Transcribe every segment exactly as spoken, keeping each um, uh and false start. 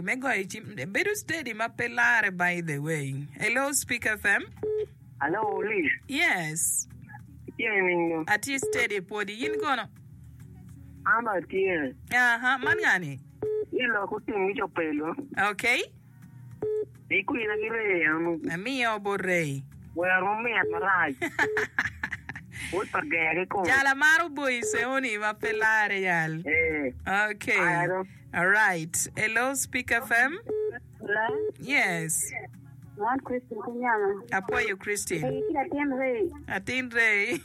Me goyo cim bedo steady ma pe lare by the way. Hello Speak FM. Hello Liz. Yes. Itye nining? Atye steady pwodi in kono? An atye. Aha, man ngani? Ni lok otim ki copelo. Okay. Ni kwina ki Ray eno. Amiyo bot Ray. Wer mamit marac. Wod pa ger kikome. Jal amaro boyi seoni ma pe lare yal. Eh. Okay. Aya Alright. Hello Speak FM. Hello. Yes. Man Christine ki nyama. Apwoyo Christine. Ee, ki latin Ray. Atin Ray.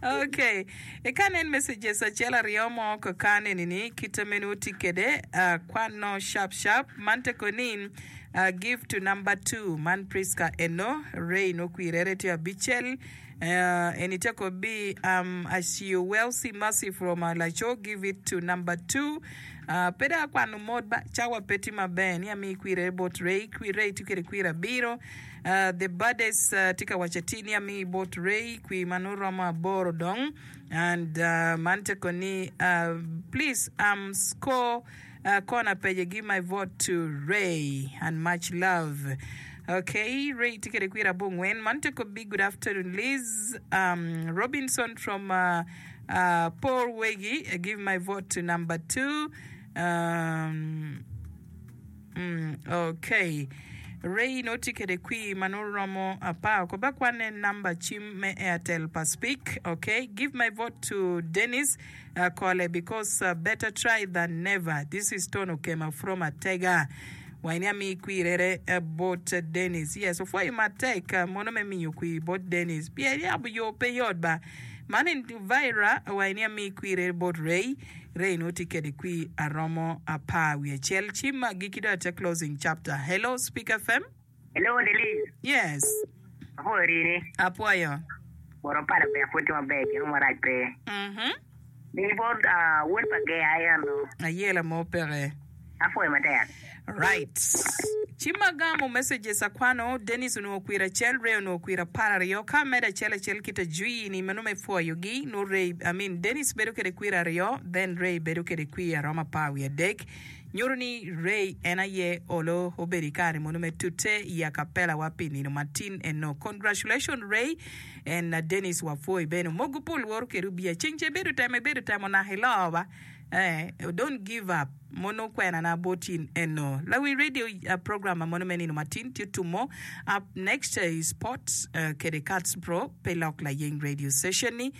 Okay. Eka nen messages acel aryo mo kaka neni ni kite meno tye kede uh, kwano sharp sharp man teko ni uh, give to number two man Priska eno Ray no kwirere tye abicel uh, eni teko bi um, Acio Wealthy Mercy from uh, Laco give it to number two uh, pe dong akwano mot ba cawa pe tye maber ni ami kwirere bot Ray kwi Ray tye kede kwir abiro uh, the baddest uh, tye ka waco atir ni ami bot Ray kwi ma nongo romo aboro dong and uh, man teko ni uh, please um, score uh, corner page give my vote to Ray and much love okay Ray tye kede kwir abongwen man teko bi good afternoon Liz um, Robinson from uh, uh, Paul Wegi uh, give my vote to number two um, Mm, okay. Ray no tye kede kwir ma nongo romo apar oko ba kwane namba cim me Airtel pa Speak. Okay. Give my vote to Dennis uh, Kole because uh, better try than never. This is Tony Okema from Atega. Waini ami kwirere uh, bot Dennis. Yes, opwoyo matek uh, mono me miyo kwir bot Dennis. Pien yabo yo pe yot ba. Man en Vira waini ami kwirere bot Ray. Ray no tye kede kwir aromo apar wiye acel. Cim agikki dong ate closing chapter. Hello Speak FM. Hello Liz. Yes. Apwoyo rini. Apwoyo. Bot pala ber pud tye maber gin mo marac pe. Mhm. Mi bot uh, wod pa ger eno. Ayela mo peke. Apwoyo matek. Right. Cim agamo messages akwano Dennis onongo kwir acel Ray onongo kwir apar aryo ka amedo acel acel kita jwi ni meno me pwoyogi no Ray I mean Dennis bedo kede kwir aryo then Ray bedo kede kwir aromo apar wiye adek nyuto ni Ray en aye olo obedo i kare mono me tute i acapella wa pi nino matin eno congratulations Ray and uh, Dennis wapwoyi bene mogo pol woro kede obiya ceng ce ibedo temo ibedo temo naka ilo ba eh, don't give up mono kwena na botin eno lawi radio uh, program ma mono me nino matin tye tumo up next uh, is sports uh, kede Cats Pro pe lok la yeng radio station ni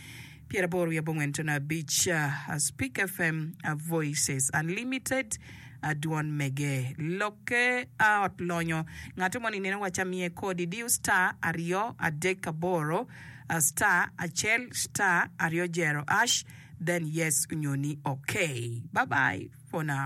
pyeraboro wiye abongwen tono abic uh, Speak FM uh, Voices Unlimited adwon mege lokke ot lonyo ng'ato moni neno wacha miye kodi diu star aryo adek aboro uh, star acel star aryo jero hash then yes onyo ni okay bye bye for now.